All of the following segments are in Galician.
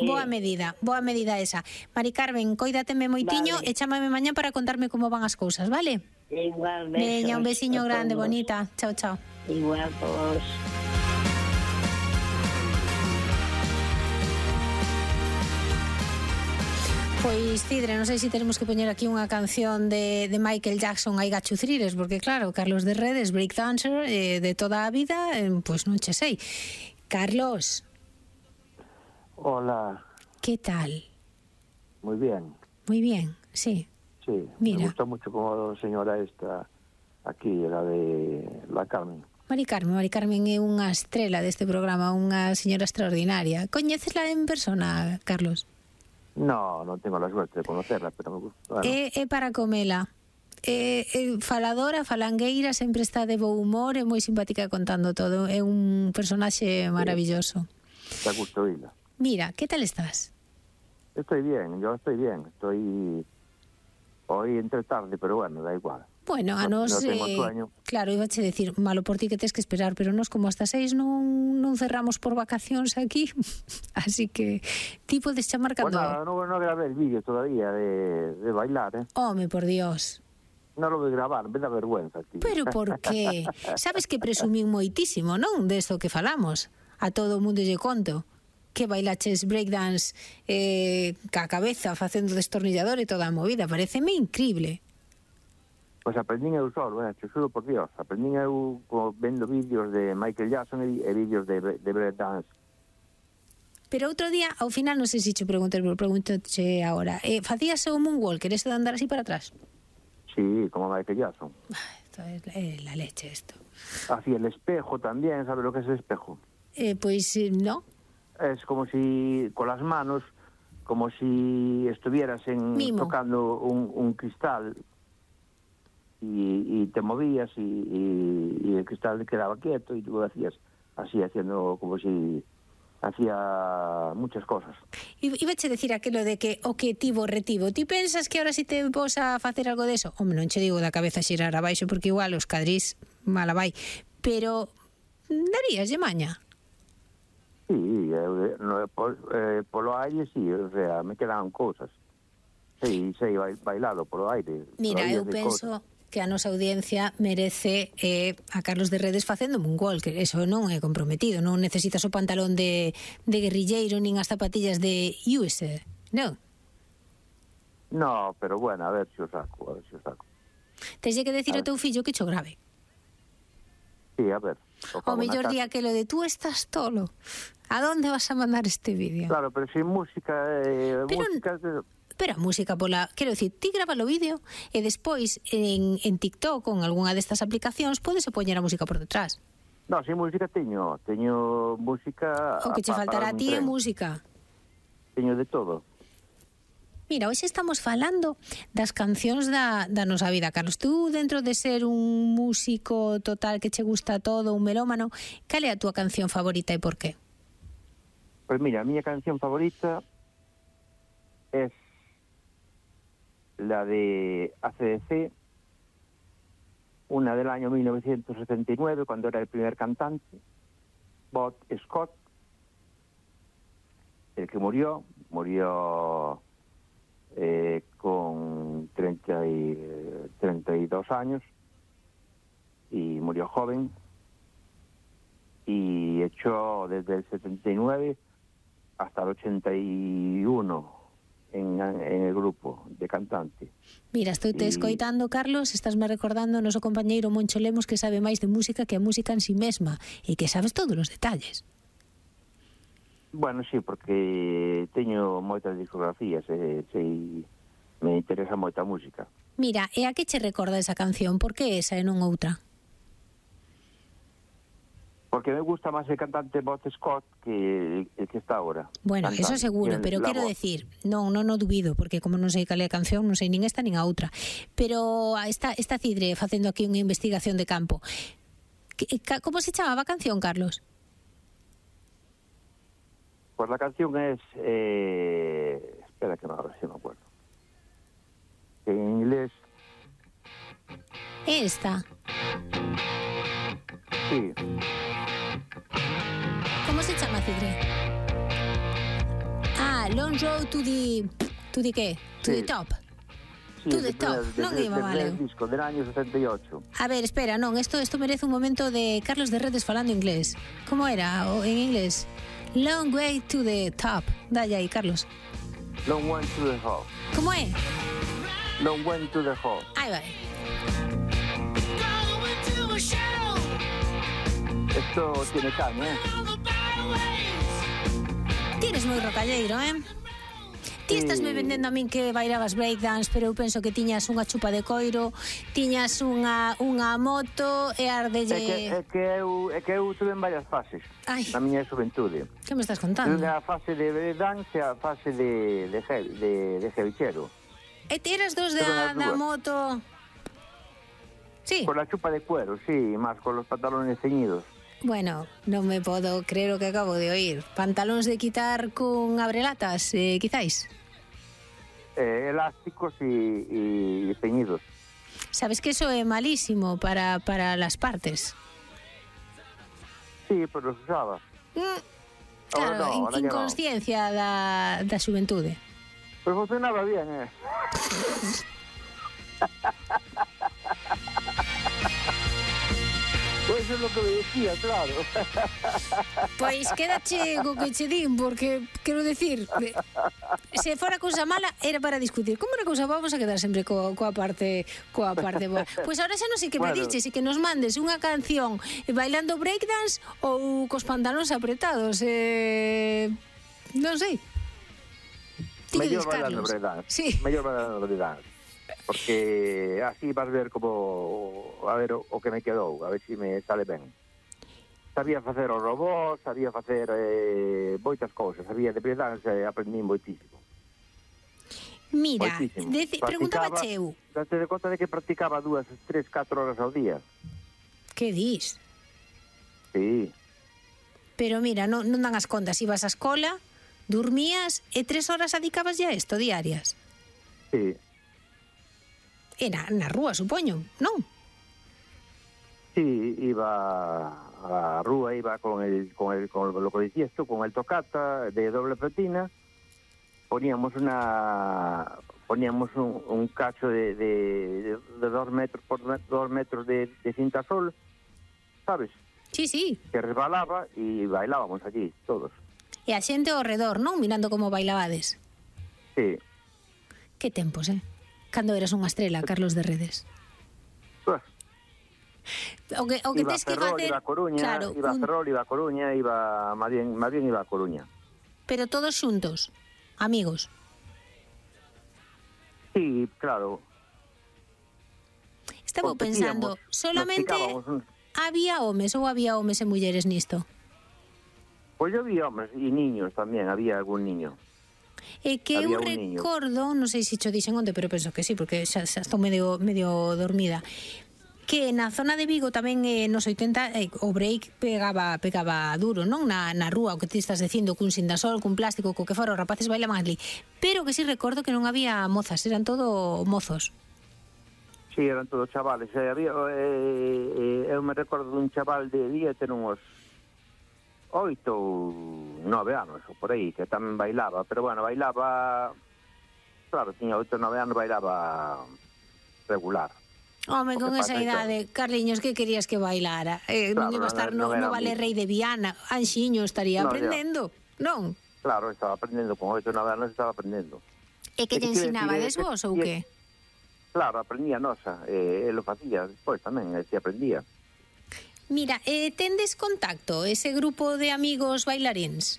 Boa medida esa. Mari Carmen, coídateme moitiño e chámame mañá para contarme como van as cousas, vale? Igual, besos. Veña, un besiño grande, bonita. Chao, chao. Igual vos. Pois, Cidre, non sei se tenemos que poñer aquí unha canción de Michael Jackson, I Got You Thrillers, porque claro, Carlos de Redes, breakdancer de toda a vida, pois non che sei. Carlos. Hola. ¿Qué tal? Muy bien. Muy bien, sí. Sí, mira. Me gusta mucho como señora esta aquí, la de la Carmen. Mari Carmen é unha estrela deste programa, unha señora extraordinaria. Coñécesla en persona, Carlos? No, non tengo la suerte de conocerla, pero me gusta. Bueno. É para comela. Faladora, falangueira, sempre está de bo humor, é moi simpática contando todo. É un personaxe maravilloso. Da gusto oírla. Mira, ¿qué tal estás? Estoy bien, yo estoy bien. Estoy hoy entre tarde, pero bueno, da igual. Bueno, a nos... No tengo sueño. Claro, ibache decir, malo por ti que tes que esperar, pero nos como hasta 6 non cerramos por vacacións aquí. Así que ti podes chamar cando... Pues nada, no grabé el vídeo todavía de bailar, ¿eh? Home, por Dios. Non lo voy a gravar, me da vergüenza, tío. Pero por qué? Sabes que presumín moitísimo, non? Desto que falamos. A todo o mundo lle conto que bailaches breakdance ca cabeza facendo destornillador e toda a movida. Pareceme increíble. Pois aprendín eu solo, te xuro por Dios. Aprendín eu vendo vídeos de Michael Jackson e vídeos de breakdance. Pero outro día, ao final, non sei se te pregunto agora, facías o moonwalker, eso de andar así para atrás? Sí, como Michael Jackson. Esto es la leche, esto. Hacía el espejo también, ¿sabes lo que es el espejo? Pues no. Es como si, con las manos, como si estuvieras tocando un cristal y te movías y el cristal quedaba quieto y tú lo hacías así, haciendo como si hacía muchas cosas. Ibache decir aquilo de que o que tivo retivo. Ti pensas que ahora si te vos a facer algo de eso? Home, non che digo da cabeza xirar abaixo porque igual os cadrís mala vai. Pero darías de maña? Sí, polo aire sí, o sea, me quedaban cosas. Sí, bailado polo aire. Mira, eu penso que a nosa audiencia merece a Carlos de Redes facendo moonwalker. Eso non é comprometido, non necesitas o pantalón de guerrilleiro nin as zapatillas de USA, non? No, pero bueno, a ver se o saco. Teslle que decir ao teu fillo que cho grave. Sí, a ver. O mellor día que lo de tú estás tolo. ¿A dónde vas a mandar este vídeo? Claro, pero sin música... Pero a música pola... Quero dicir, ti grava o vídeo e despois en TikTok ou en algunha destas aplicacións podes poñer a música por detrás. No, sin música teño música... O que che faltará a ti é música. Teño de todo. Mira, hoxe estamos falando das cancións da nosa vida, Carlos. Tú, dentro de ser un músico total que che gusta todo, un melómano, cal é a túa canción favorita e por qué? Pues mira, a miña canción favorita es la de AC/DC, una del año 1979, cuando era el primer cantante, Bob Scott, el que murió con 32 años y murió joven, y echó desde el 79 hasta el 81 en el grupo de cantante. Mira, estou te escoitando, Carlos, estásme recordando o noso compañeiro Moncho Lemos, que sabe máis de música que a música en sí mesma e que sabes todos os detalles. Bueno, sí, porque teño moitas discografías e me interesa moita música. Mira, e a que che recorda esa canción? Por que esa e non outra? Porque me gusta máis el cantante Bob Scott que el que está ahora. Bueno, cantante. eso seguro, pero quero decir, non dubido, porque como non sei cal é a canción, non sei nin esta nin a outra. Pero esta Cidre facendo aquí unha investigación de campo. Como se chamaba a canción, Carlos? Pues la canción es... espera que ahora sí me acuerdo. En inglés... Esta. Sí. Como se chama, Cidre? Long Road to the qué? To the top. Sí, To the top, non iba vale. El disco del año 78. A ver, espera, non, esto merece un momento de Carlos de Redes falando inglés. Como era en inglés? Long way to the top. Dalle aí, Carlos. Long way to the hall. Como é? Long way to the hall. Aí vai. Esto tiene caña, Tienes moi rocalleiro, Ti estás me vendendo a min que bailabas breakdance, pero eu penso que tiñas unha chupa de coiro, tiñas unha moto e ardelle... É que eu tuve en varias fases. Ai. Na miña xuventude. Que me estás contando? Tuve a fase de breakdance e a fase de cevichero. E ti eras dos da moto... Sí. Con la chupa de cuero, sí, más con los pantalones ceñidos. Bueno, non me podo creer o que acabo de oír. Pantalóns de quitar con abrelatas, quizáis? Elásticos y ceñidos. Sabes que eso é malísimo para las partes. Sí, pero los usaba. Claro, no, inconsciencia da xuventude. Pero funcionaba bien, Pues eso es lo que me decía, claro. Pois quédache co que che din, porque, quero decir, se fora cousa mala, era para discutir. Como era cousa boa, vamos a quedar sempre coa parte boa. Pois ahora xa non sei que me diches, e que nos mandes unha canción bailando breakdance ou cos pantalóns apretados. Non sei. Mellor bailando breakdance. Sí. Mellor bailando breakdance. Porque así vas ver como a ver o que me quedou, a ver se me sale ben. Sabía facer o robot, sabía facer moitas cousas, sabía de breakdance, aprendí moitísimo. Mira, preguntaba eu. Date de conta de que practicaba 2, 3, 4 horas ao día. Que dis? Sí. Pero mira, non dan as contas, ibas á escola, dormías e 3 horas adicabas ya a isto diarias. Sí. E na rúa, supoño, non? Sí, iba a rúa, iba con lo que decías tú, con el tocata de doble platina, poníamos un cacho de 2 metros por 2 metros de cinta sol, ¿sabes? Sí, sí. Que resbalaba y bailábamos allí, todos. E a xente ao redor, non? Mirando como bailabades. Sí. Que tempos, Cando eras unha estrela, Carlos de Redes. Pues, o que tes que facer... Iba a Coruña, claro, iba a Ferrol, iba a Coruña, más bien iba a Coruña. Pero todos xuntos, amigos. Sí, claro. Estaba pensando, solamente había homes ou había homes e mulleres nisto? Pois eu vi homes e niños tamén, había algún niño. E que eu recordo, non sei se cho dixen onde, pero penso que sí, porque xa estou medio dormida, que na zona de Vigo tamén nos 80 o break pegaba duro, non? Na rúa, o que ti estás dicindo, cun sindasol, cun plástico, co que fora, os rapaces bailaban ali. Pero que sí recordo que non había mozas, eran todo mozos. Sí, eran todos chavales. Eu me recordo dun chaval debía ter uns 8 ou 9 anos, ou por aí, que tamén bailaba, pero bueno, bailaba, claro, tiña 8 ou 9 anos, bailaba regular. Home, con esa idade, Carliños, que querías que bailara? Non iba a estar no Vale Rei de Viana, Anxiño estaría aprendendo, non? Claro, estaba aprendendo, con 8 ou 9 anos estaba aprendendo. E que te ensinabades vos, ou que? Claro, aprendía nosa, lo facía despois tamén, se aprendía. Mira, tendes contacto, ese grupo de amigos bailaríns?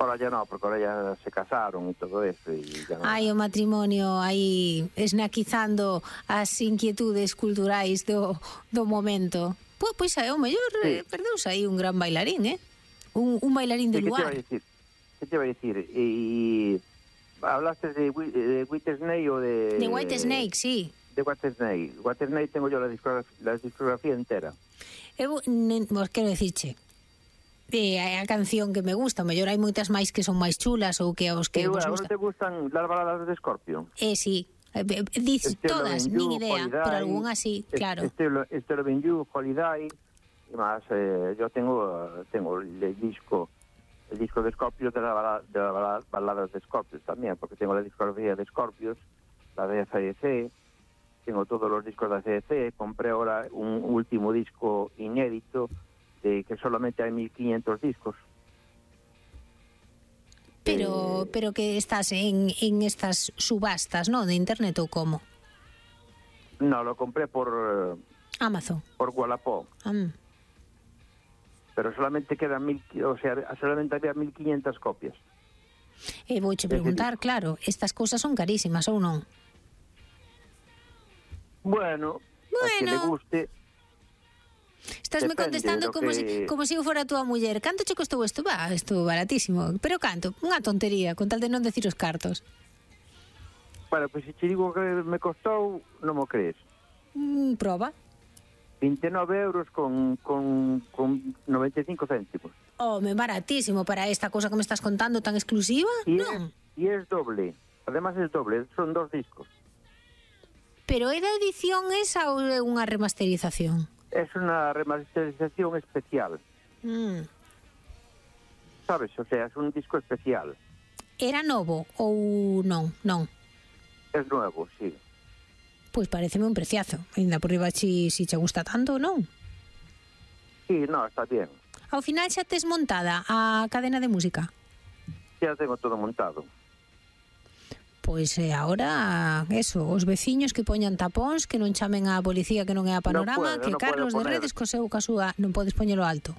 Ahora ya no, porque ahora ya se casaron y todo eso. Y ya no. Ai, o matrimonio aí esnaquizando as inquietudes culturais do momento. Pois o mellor perdeuse aí un gran bailarín, un bailarín de lugar. ¿Qué te iba a decir? Y hablaste de Whitesnake o de... De Whitesnake, sí. De Whitesnake. Whitesnake tengo yo la discografía entera. Vos quero dicirche, a canción que me gusta, mellor hai moitas máis que son máis chulas ou que aos que vos gusta. ¿Te gustan las baladas de Scorpion? Sí, dices todas, nin idea, Holiday, pero algún así, claro. Esther Benju, Holiday, y más, yo tengo el disco el disco de Scorpions de las baladas de Scorpions también, porque tengo la discografía de Scorpions, la de AC/DC, tengo todos los discos de AC/DC, compré ahora un último disco inédito de que solamente hay 1500 discos. Pero que estás en estas subastas, ¿no? De internet o cómo? No, lo compré por Amazon. Por Wallapop. Pero solamente quedan solamente había 1500 copias. Vouche preguntar, claro, estas cousas son carísimas ou non? Bueno, a que le guste. Estásme contestando como se eu fora a túa muller. Canto che costou isto? Isto baratísimo. Pero canto? Unha tontería, con tal de non decir os cartos. Bueno, pois se te digo que me costou, non mo crees. Proba. 29 euros con 95 céntimos. Baratísimo para esta cosa que me estás contando tan exclusiva. Non. E é doble. Además é doble, son 2 discos. Pero é da edición esa ou é unha remasterización? Es una remasterización especial. ¿Sabes? O sea, es un disco especial. Era novo ou non? Non. Es nuevo, sí. Pois pareceme un preciazo. Ainda por riba si che gusta tanto, non? Sí, no, está bien. Ao final xa tes montada a cadena de música? Ya tengo todo montado. Pois agora, os veciños que poñan tapóns, que non chamen á policía que non é a Panorama, que Carlos de Redes co seu casúa non podes poñelo alto.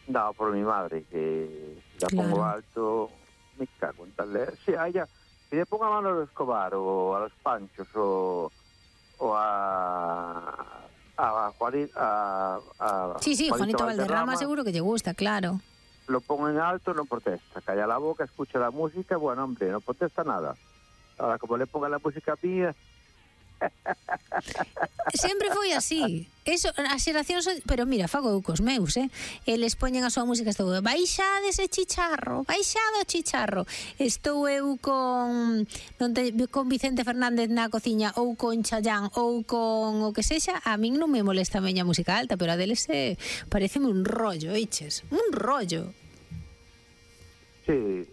No, por mi madre, que la pongo alto, me cago en tal. Si le pongo a Manolo Escobar o a los Panchos o a Sí, Juanito Valderrama seguro que lle gusta, claro. Lo pongo en alto, no protesta. Calla la boca, escucha la música, bueno, hombre, no protesta nada. Ahora, como le ponga la música mía... Sempre foi así. Eso, as xeracións, pero mira, fago eu cos meus, eles poñen a súa música, estou baixade ese chicharro, baixado o chicharro. Estou eu con Vicente Fernández na cociña ou con Chayanne ou con o que sexa, a min non me molesta a miña música alta, pero a deles pareceme un rollo, oiches, un rollo. Sí,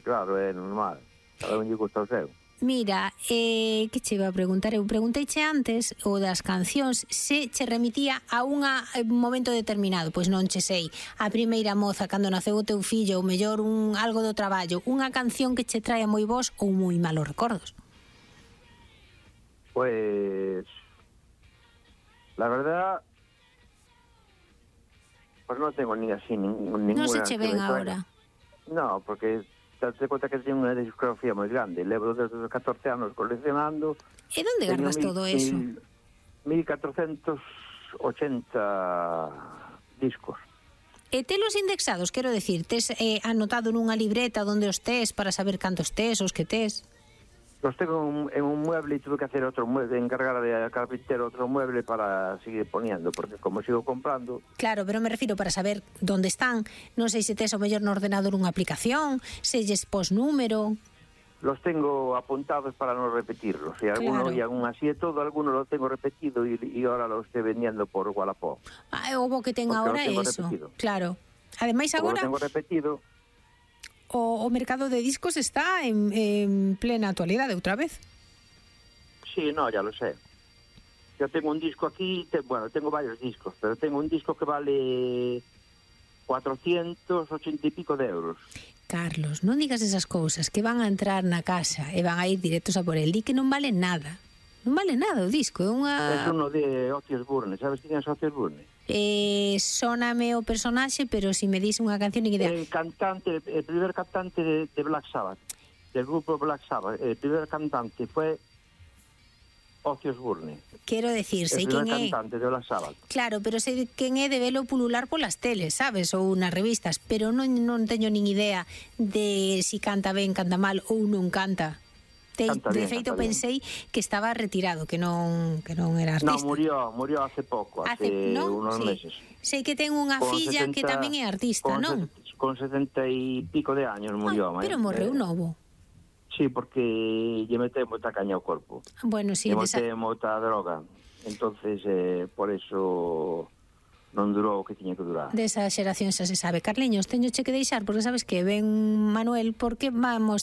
claro, é normal. Cada un lle gusta o seu. Mira, que che iba a preguntar? Eu pregunteiche antes o das cancións se che remitía a un momento determinado. Pois non che sei, a primeira moza cando naceu o teu fillo, ou mellor algo do traballo, unha canción que che traia moi bons ou moi malos recordos. Pues la verdad, pues no tengo ni así ninguna. Non se che ven agora. No, porque date conta que teño unha discografía moi grande. Levo desde os 14 anos coleccionando. E onde gardas todo eso? 1480 discos. E telos indexados, quero decir, tes anotado nunha libreta onde os tes para saber cantos tes, os que tes? Los tengo en un mueble e tuve que hacer otro mueble, encargar de carpintero otro mueble para seguir poniendo, porque como sigo comprando... Claro, pero me refiro para saber onde están. Non sei se tes o mellor no ordenador unha aplicación, se lles pos número... Los tengo apuntados para no repetirlos. Y algunos, claro. Y aún así de todo, algunos los tengo repetido y ahora los estoy vendiendo por Wallapop. O bo que ten agora é eso. Repetido. Claro. Ademais agora... Como lo tengo repetido... O mercado de discos está en plena actualidade outra vez. Sí, no, ya lo sé. Yo tengo un disco aquí, tengo varios discos, pero tengo un disco que vale 480 y pico de euros. Carlos, non digas esas cousas, que van a entrar na casa e van a ir directos a por el. Di que non vale nada. Non vale nada o disco, é unha... É uno de Ozzy Osbourne, sabes quién é Ozzy Osbourne? Sóname o personaxe, pero si me dis unha canción... El primer cantante de Black Sabbath, del grupo Black Sabbath, el primer cantante fue Ozzy Osbourne. Quero decir, sei quen é. El primer cantante de Black Sabbath. Claro, pero sei quen é de velo pulular polas teles, sabes, ou nas revistas, pero non teño nin idea de si canta ben, canta mal ou non canta. De feito pensei que estaba retirado, que non era artista. No, murió hace poco, hace unos meses. Sei que ten unha filla que tamén é artista, non? Con 70 y pico de años murió. Pero morreu novo. Sí, porque lle mete moita caña ao corpo. Bueno, sí. Lle mete moita droga. Entonces, por eso non durou o que tiña que durar. Desa xeración xa se sabe. Carliños, teño che que deixar, porque sabes que ven Manuel, porque vamos